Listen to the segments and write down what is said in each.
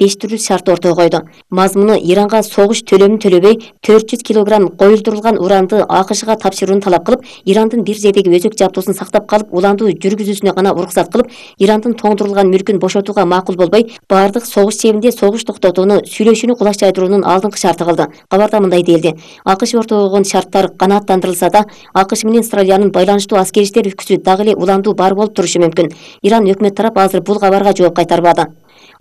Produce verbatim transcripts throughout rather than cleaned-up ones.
беш түрлүү шарт ортого койду. Мазмуну Иранга согуш төлөмүн төлөбөй төрт жүз килограмм коюлдурулган уранды АКШга тапшырууну талап кылып, Ирандын бир жердеги өзөк жабдуусун сактап калып, уландуу жүргүзүүсүнө гана уруксат кылып, Ирандын тоңдурулган мүлкүн бошотууга макул болбой, бардык согуш чебинде согуш токтотууну, сүйлөшүүнү кулак жайдырууну алдыңкы шарты кылды. Кабарда мындай делди: АКШ ортого койгон шарттар канааттандырылса да, АКШ менен Австралиянын байланыштуу аскери иштер өлкөсү дагы эле уландуу бар болуп турушу мүмкүн. Иран өкмөт тарап азыр бул кабарга жооп кайтарбады.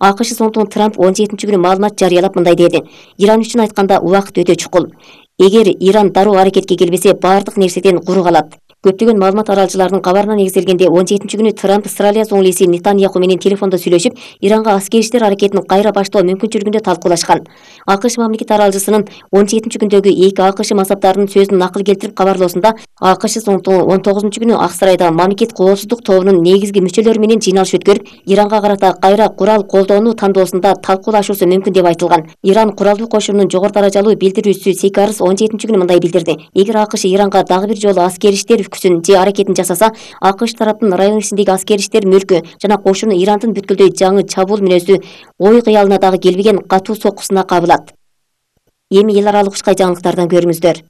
АКШ соңтон Трамп он жетинчи күнү маалымат жарыялап мындай деди: Иран үчүн айтканда убакыт өтө чукул. Эгер Иран дароо аракетке келбесе, бардык нерседен куру калат. Көптөгөн маалымат аралчыларынын кабарына негизделгенде он жетинчи күнү Трамп Австралия соң элчиси Нетаньяху менен телефондо сүйлөшүп, Иранга аскери иштер аракетин кайра баштоо мүмкүнчүлүгүндө талкуулашкан. АКШ мамлекет аралчысынын он жетинчи күндөгү эки АКШ мансаптарынын сөзүн накыл келтирип кабарлоосунда, АКШ соңтон он тогузунчу күнү Ак сарайда мамлекет коопсуздук тобунун негизги мүчөлөрү менен жыйналыш өткөрүп, Иранга карата кайра курал колдоону тандоосунда талкуулашуусу мүмкүн деп айтылган. Иран куралдуу кошунунун жогору даражалуу билдирүүчүсү Сейкарс он жетинчи күнү мындай билдирди: эгер АКШ Иранга дагы бир жолу аскери иштер күчүн же аракетин жасаса, АКШ тараптын район ичиндеги аскери иштер мүлкү жана кошуну Ирандын бүткүлдөй жаңы чабуул мүнөзү ой кыялына дагы келбеген катуу соккусуна кабылат. Эми эл аралык ушкай жаңылыктардан көрүңүздөр.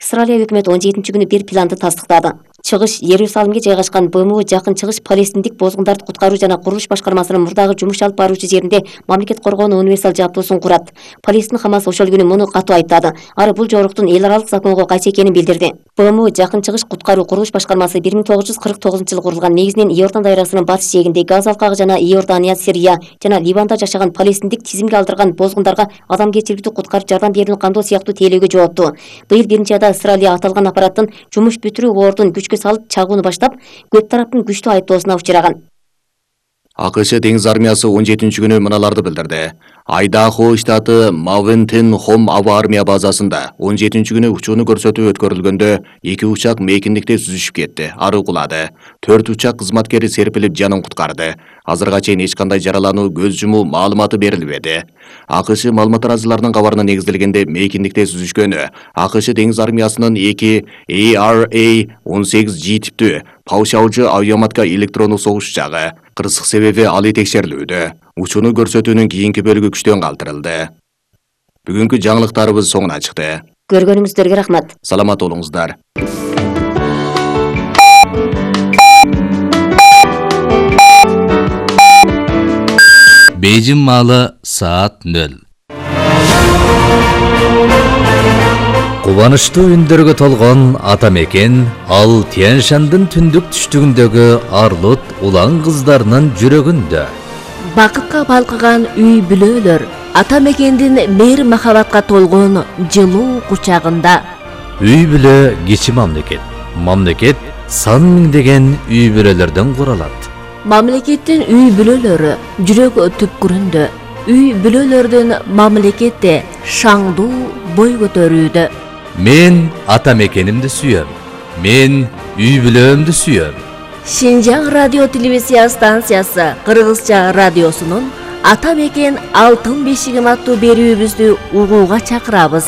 Австралия өкмөтү он жетинчи күнү бир планды тастыктады. Чыгыш Иерусалимге жайгашкан БМУ жакын чыгыш палестиндик бозгундарды куткаруу жана курулуш башкармасынын мурдагы жумуш алып баруучу жеринде мамлекет коргоонун универсал жабдуусун курат. Палестин Хамас ошол күнү муну катуу айыптады. Ары бул жоруктун эл аралык законго кайшы экенин билдирди. БМУ жакын чыгыш куткаруу курулуш башкармасы бир миң тогуз жүз кырк тогузунчу жылы курулган. Негизинен Иордан дайрасынын батыш жээгинде, Газ алкагы жана Иордания, Сирия жана Ливанда жашаган палестиндик тизимге алдырган бозгундарга адамгерчиликтүү куткарып жардам берүүнү кандоо сыяктуу тейлөөгө жоопту. Быйыл биринчи айда Австралия аталган аппараттын жумуш бүтүрүү ордун күчкө салып чагууну баштап, көп тараптын күчтүү айыптоосуна учураган. АКШ деңиз армиясы он жетинчи күнү мыналарды билдирди. Айдахо штаты Мавентен Хом аба армия базасында он жетинчи күнү учууну көрсөтүү өткөрүлгөндө эки учак мейкиндикте сүзүшүп кетти, ары кулады. төрт учак кызматкери серпилип жанын куткарды. Азырга чейин эч кандай жаралануу, көз жумуу маалыматы берилбеди. АКШ маалымат аралчыларынын кабарына негизделгенде мейкиндикте сүзүшкөнү АКШ деңиз армиясынын эки A R A он сегиз G типтүү Паушаужу авиаматка электрондук согуш учагы. Кырсык себеби алы текшерилүүдө. Учууну көрсөтүүнүн кийинки бөлүгү күчтөн калтырылды. Бүгүнкү жаңылыктарыбыз соңуна чыкты. Көргөнүңүздөргө рахмат. Саламат болуңуздар. Бейжин маалы саат нөл. Кубанычтуу үндөргө толгон ата мекен ал Тянь-Шандын түндүк түштүгүндөгү арлут улан кыздарынын жүрөгүндө. Бакытка балкыган үй бүлөлөр ата мекендин мейир махабатка толгон жылуу кучагында. Үй бүлө кичи мамлекет. Мамлекет сан миңдеген үй бүлөлөрдөн куралат. Мамлекеттин үй бүлөлөрү жүрөк түпкүрүндө. Үй бүлөлөрдүн мамлекетте шаңдуу бой көтөрүүдө. Мен ата мекенимди сүйөм. Мен үй бүлөмдү сүйөм. Шинжаң радио телевизия станциясы Кыргызча радиосунун Ата мекен алтын бешигим аттуу берүүбүздү угууга чакырабыз.